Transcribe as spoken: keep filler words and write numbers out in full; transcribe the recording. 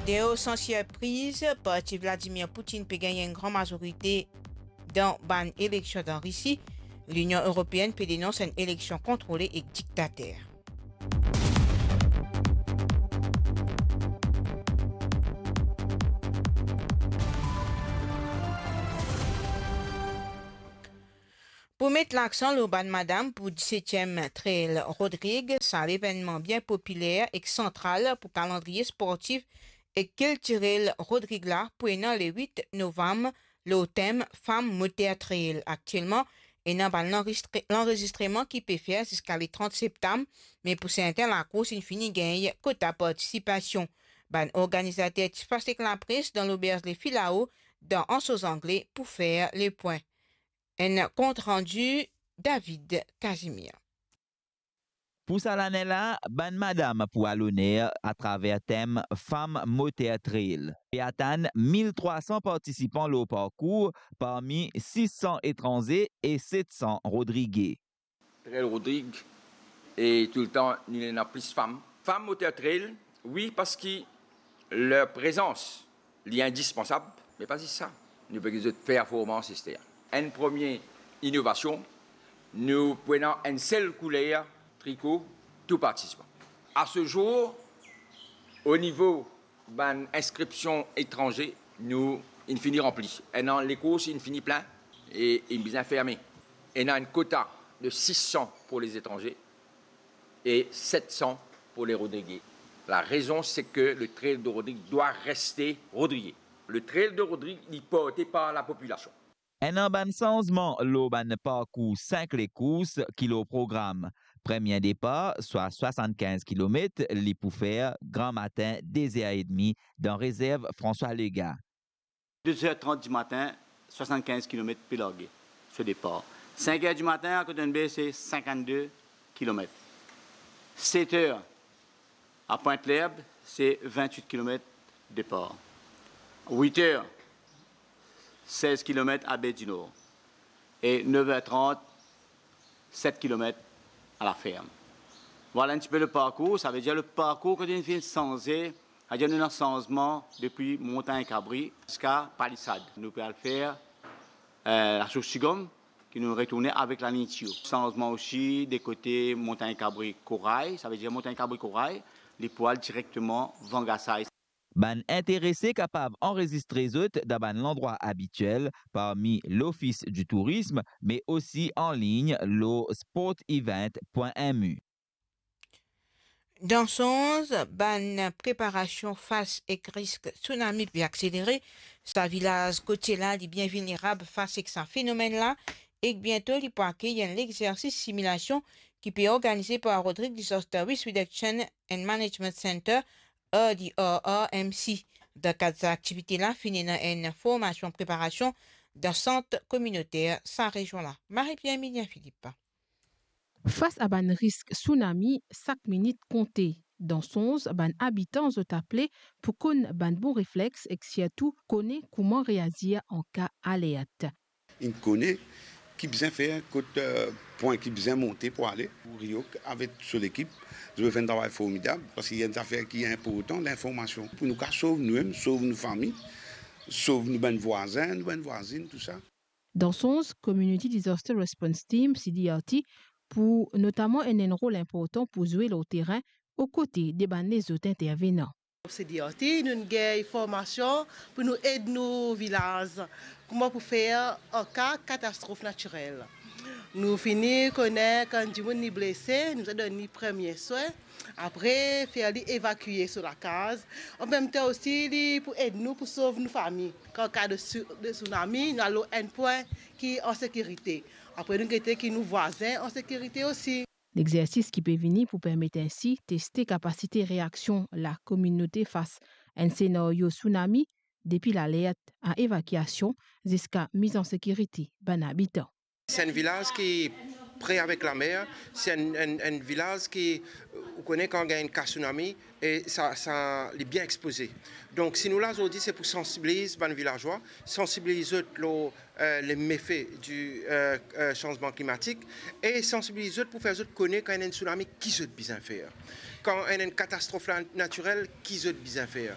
Teo, san sirpriz, parti Vladimir Poutine pe gagn enn gran mazorite dan bann eleksion dan Risi. Linion Eropeenn pe denons enn eleksion kontrole ek diktater. Pou met laksan lor bann madam pou disetiem Trail Rodrig, sa levennman bien popiler ek santral pou kalandriye sportif ek kiltirel Rodrig la pou ena le wit novam lor tem Fam Moter Trail. Aktielman, ena bann lanrestre-, lanrezistreman ki pe fer ziska le trant septam, me pou serten lakours inn fini gagn kota partisipasion. Bann organizater ti fas ek lapres dan loberz Le Filao dan Anse aux Anglais pou fer lepwin. Enn kont randi David Casimir. Pou sa lane la, bann madam pou al oner atraver tem Fam Moter Trail. Pe atann mil trwa san partisipan lor parkour, parmi sis san etranze e set san Rodrige. Trail Rodrig e toultan nou ena plis fam. Fam Moter Trail, wi, parski ler prezans li indispansab, me pa zis sa. Nou pe get zot performans ester. Enn premie inovasion, nou pou ena enn sel kouler triko tou partisipan. A se zour, o nivo bann inskripsion etranze, nou inn fini ranpli. Ena lekours inn fini plin e inn bizin ferme. Ena enn kota de sis san pou lezatranze e set san pou le Rodrige. La rezon, se ke le Trail de Rodrig dwa reste Rodrige. Le Trail de Rodrig, li porte par lapopilasion. Ena bann sanzman lor bann parkour sink lekours ki lor program. Premie depar, swa swasann-kinz kilomet, li pou fer gramatin de zer edmi dan rezerv François Legain. De zer trant dimatin, swasann-kinz kilomet pe large so depar. Sink er dimatin, a Cotton Bay, se sinkant-de kilomet. Set er, a Pointe-l'Herbe, se vintwit kilomet depar. Wit er, sez kilomet a Baie du Nord. E nef er trant, set kilomet a La Ferme. Vwala enn tipe le parkour, savedir le parkour ki nou finn sanze, savedir nou ena sanzman depi Montagne Cabri ziska Palissade. Nou pe al fer, eh, Lasours Tigom, ki nou retourne avek lalign Tio. Sanzman osi de kote Montagne Cabri Corail, savedir Montagne Cabri Corail, li pou al direkteman Vangasai. Bann interese kapav anrezistre zot dan bann landrwa abitiel parmi L'Office du Tourisme, me osi anlign lor sportevent pwin M U. Dan sonz, bann preparasion fas ek risk tsunami pe akselere. Sa vilaz kotie la, li bien vilnerab fas ek sa fenomenn la, ek biento li pou akeyir enn lexersis similasion ki pe organize par Rodrig Disaster Risk Reduction and Management Center, R D R R M C. Dan kad sa aktivite la, finn ena enn formasion preparasion dan sant kominoter sa rezion la. Marie-Pierre Emilien Philippe. Fas a bann risk tsunami, sak minit konte. Dan sonz, bann abitan zot aple pou konn bann bon reflex ek sirtou kone kouma reazir an ka alert. Inn kone ki bizin fer, kot, eh, pwin ki bizin monte pou ale. Pou Riok avek so lekip, zot finn travay formidab, parski enn zafer ki inportan, linformasion. Pou nou kapav sov noumem, sov nou fami, sov nou bann vwazin, nou bann vwazinn, tou sa. Dan sonz, Community Disaster Response Team, C D R T, pou notaman ena enn rol inportan pou zwe lor terin, o kote de bann lezot intervenan. C D R T, nou gagn formasion pou nou ed nou vilaz, kouma pou fer an ka katastrof natirel. Nou fini kone kan dimoun li blese, nou bizin donn li premie swin, apre fer li evakie so lakaz. An mem tan osi, li pou ed nou pou sov nou fami. Kan ka de su-, de tsunami, nou al lor enn pwin ki an sekirite. Apre nou gete ki nou vwazin an sekirite osi. Lexersis ki pe vini pou permet ensi teste kapasite reaksion lakominote fas enn senario tsunami, depi lalert a evakiasion ziska miz an sekirite bann abitan. Se enn vilaz ki pre avek lamer, se enn, enn, enn vilaz ki, ou kone kan gagn enn ka tsunami, e sa, sa, li bien expoze. Donk, si nou la zordi, se pou sansibiliz bann vilazwa, sansibiliz zot lor, eh, le mefe di, eh, eh, sanzman klimatik, e sansibiliz zot pou fer zot kone kan ena enn tsunami, ki zot bizin fer. Kan ena enn katastrof la, natirel, ki zot bizin fer.